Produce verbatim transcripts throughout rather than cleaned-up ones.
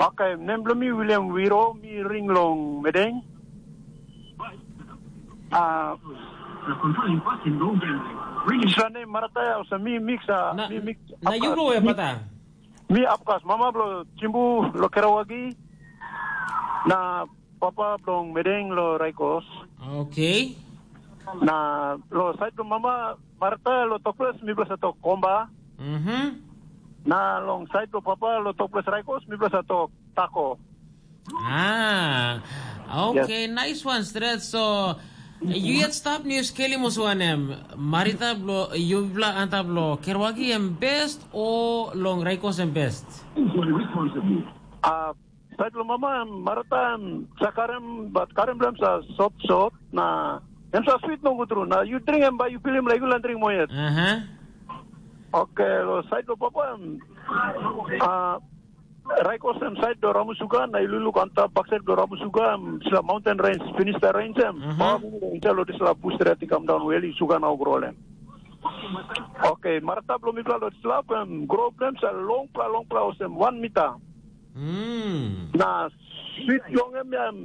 Oke, nem bilong mi William Wiro, mi ring long Medeng. Ah, sua nem Marata, olsem mi mix, ah, na, mi mix na yu Apkas. Blo we Mi, pata? Mi Apkas, mama bilong Chimbu lo Kerawagi, na papa bilong Medeng lo Raikos. Oke. Na lo sait bilong mama Marata lo tokples mi bilong sa tok Komba. Mhm. Na long sait bilong papa lo tokples Raikos mi bilong sa tok Tako. Ah, okay, nice one, Stret. So, yu yet stap ni yu skelim olsem wanem? Marita blo yupela antap lo Kerwagi em best o long Raikos em best? Ah, sait lo mama em Marita em sa karim, bat karim bilong em sa sot sot, na em sa swit nogut tru. Na yu dring em bai yu pilim laik yu lain dring moa yet. Aha. Oke, lo sait lo papa em, ah, Raikos em sait lo Ramusuga, na i luluk antap baksait lo Ramusuga, em sila mountain range, Finista range em. Mhm. Pawa insait lo dispela bus stret i kam daun wel i suga na gro len. Oke, marata bilong mipela lo dispela em gro bilong em sa longpela, longpela olsem wan mita. Mm. Na swit long em ya em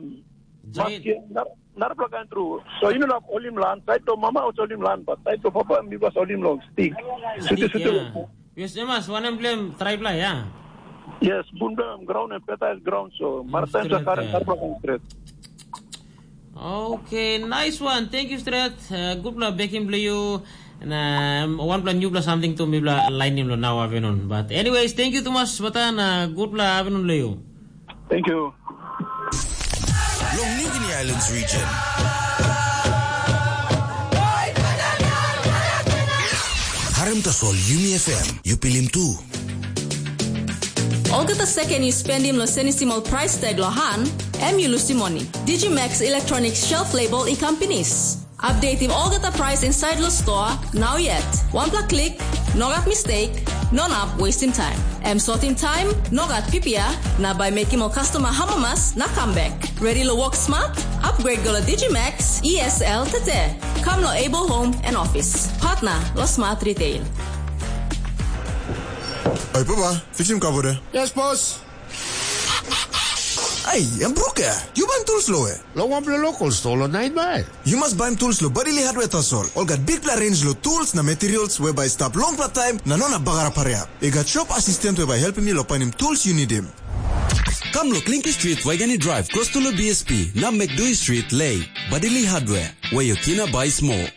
Giant. Maski nar-, narapela kain tru. So yu no inap holim lan, sait lo mama ol holim lan, bat sait lo papa mi was holim long stik. Stik, sute, sute ya. Long. Yes, emas, wanem bilong em traipela, ya? Yes, bun bilong em graun em fertile ground, so mm, marataim sa stret, karim ya. Narapela kain stret. Okay, nice one. Thank you, Stret. Uh, gutpela bekim bilong yu. Na um, wanpela newpela samting tu mipela lainim lo nau afternoon. But anyways, thank you tumas bata na gutpela afternoon lo yu. Thank you. Long New Guinea Islands region. Harim tasol Yumi F M, yu pilim tu. Olgeta seken yu spendim long senisim ol prais tag long han, em yu lusim moni. Digimax Electronic Shelf Label i kam pinis. Updatim olgeta prais insait long stoa, nau yet. Wanpela klik, nogat mistake, no inap wastim taim. Em sotim taim, nogat pipia, na bai mekim ol customer hamamas na kam bek. Ready lo work smart? Upgrade go lo Digimax E S L tete. Kam lo Able Home and Office. Partner lo Smart Retail. Oi, papa, fixim kapo de. Yes, boss. Ai, em bruk ya. Yu baim tools lo we? Lo wanpela local store lo Nine Mile. Yu mas baim tools lo Badili Hardware tasol. Ol gat bikpela range lo tools na materials we bai stap longpela taim na no na bagarap hariap. I gat shop assistant we bai helpim yu lo painim tools yu nidim. Kam lo Clinky Street, Waigani Drive, close to lo B S P, na McDui Street, Lei. Badili Hardware, where your tina buy small.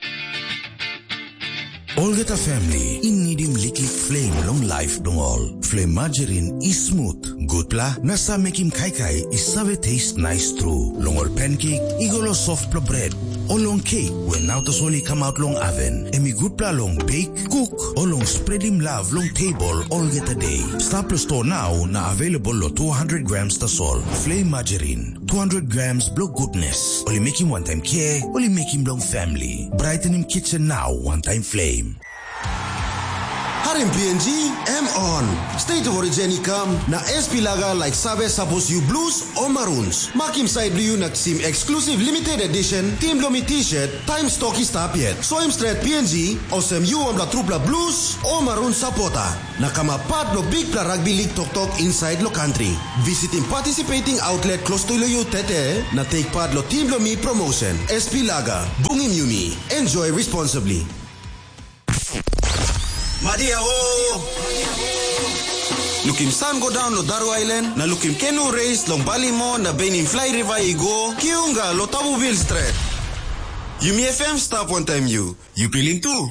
Olgeta family i nidim liklik flame long life bilong ol. Flame margarine i smooth, gutpela, na sa mekim kaikai i save taste nice tru. Long ol pancake, i go lo softpela bread, o long cake, we nau tasol i come out long oven. Em i gutpela long bake, cook, o long spreadim love long table olgeta day. Stap lo store now na available lo two hundred grams tasol. Flame margarine, two hundred grams blo goodness. Ol i mekim wantaim care, ol i mekim bilong family. Brightening kitchen now, one time flame. Harim P N G, M on. State of Origin i kam, na S P Lager like save sapos yu blues o maroons. Makim side blu yu na kisim exclusive limited edition, team blo mi t-shirt, time stock i stap yet. Soim stret P N G, olsem yu wanpela trupela blues o maroon supporter. Na kamap pat lo bikpela rugby league toktok inside lo country. Visitim participating outlet close to lo yu tete, na take part lo team lo mi promotion. S P Lager, bungim yumi. Enjoy responsibly. Madia o! Lukim sun go down lo Daru Island, na lukim canoe race long Balimo na Benin Fly River i go, kiunga lo Tabubil Strait. Yumi F M stap wantaim yu. Yu pilim tu?